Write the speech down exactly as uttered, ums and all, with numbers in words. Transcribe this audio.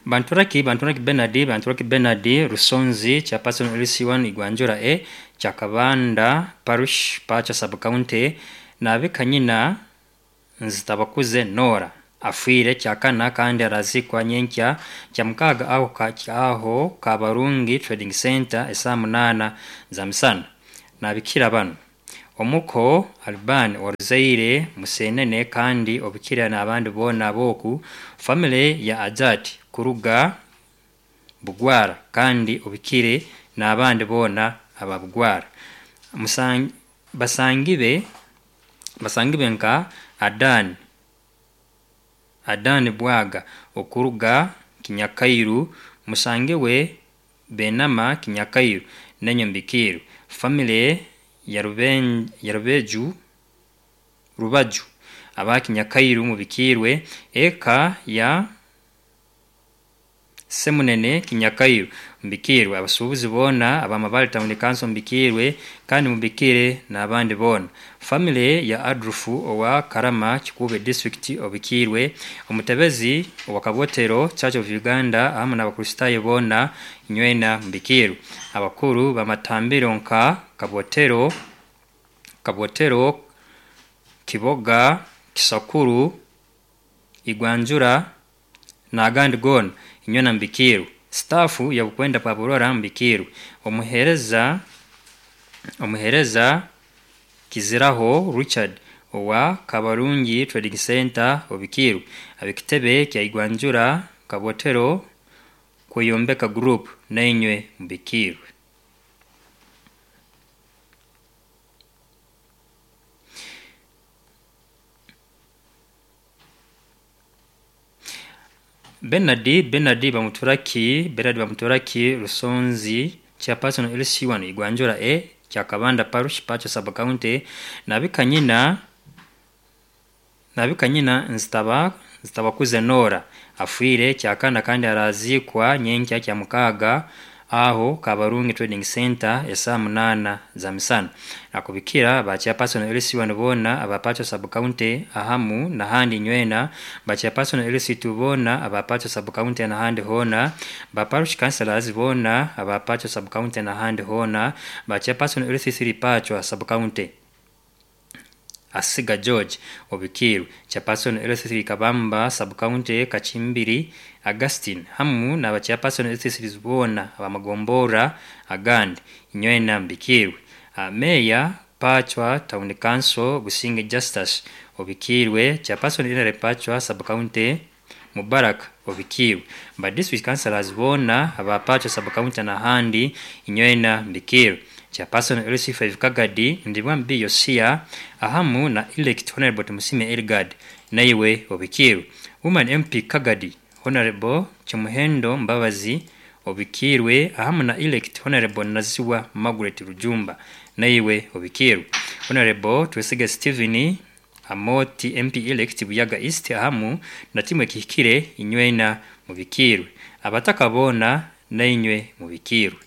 Banturaki Banturaki Bernard Banturaki Bernard Rusonzi chairperson L C one Igwanjura E Chakabanda Parish Pacha Sub County nabikanyina Nzitabakuze Nora afwire kyakana kandi arazikwa nyenkya kya mukaga aho ka aho Kabarungi Trading Center esaa munana za misana. Nabikira bano omuko Alban oruzaire Musenene kandi obikira n'abandi boona boku family ya Ajati kuruga Bugwara kandi obikire n'abandi boona aba Bugwara. Musang, basangibe basangibe nka Adan Adan Bwaga okuruga Kinyakairu, musangiwe Benama Kinyakairu nenyo mbikiru family ya Ruben ya Rubeju Rubaju aba Kinyakairu mubikirwe eka ya Semunene Kinyakairu mbikirwe abasuubuzi boona abamabale Town Council mbikirwe kandi mubikire n'abandi boona. Family ya Adrufu owa Karama Kikube District obikirwe omutebezi owa Kabotero Church of Uganda ahamu n'Abakristaayo boona nywena mbikirwe. Abakuru bamatambiro nka Kabotero Kabotero Kiboga Kisakuru Igwanjura n'agandi goona inywena mbikirwe. Stafu ya Bukwenda Paburora mbikirwe. Omuhereza omuhereza Kiziraho Richard owa Kabarungi Trading Center obikirwe. Ab'ekitebe kya Igwanjura Kabotero Kweyombeka Group nainywe mbikirwe. Bernard Bernard Bamuturaki Bernard Bamuturaki Rusonzi chairperson L C one Igwanjura E Kyakabanda Parish Pacho Sub County nabikanyina nabikanyina Nzitaba Nzitabakuze Nora afwire kyakana kandi arazikwa nyenkya kya mukaga aho Kabarungi Trading Center esaa munana za misana. Akubikira ba chairperson L C one bona aba Pacho Sub County ahamu nahandi nywena ba chairperson L C two bona aba Pacho Sub County nahandi hona ba parish councillors bona aba Pacho Sub County nahandi hona ba chairperson L C three Pacho Sub County Asiga George Obikiru chairperson L C three Kabamba Sub County Kachimbiri Augustine hamu na chairperson L C three bona abamagombora agandi nywena mbikirwe. Meya Pachwa Town Council Businge Justus Obikirwe chairperson Inare Pachwa Sub County Mubarak Obikirwe ba district councillors bona aba Pachwa Sub County nahandi nywena mbikirwe. Chairperson L C five Kagadi Ndibwambi Yosia ahamu na elect Honorable Tumusime Elgad naiwe obikirwe. Woman M P Kagadi Honorable Chimuhendo Mbabazi obikirwe ahamu na elect Honorable Naziwa Margaret Rujumba naiwe obikirwe. Honorable Twesige Stephen Amoti M P elect Buyaga East ahamu na timwe kihikire inywena mubikirwe. Abataka bona nainywe mubikirwe.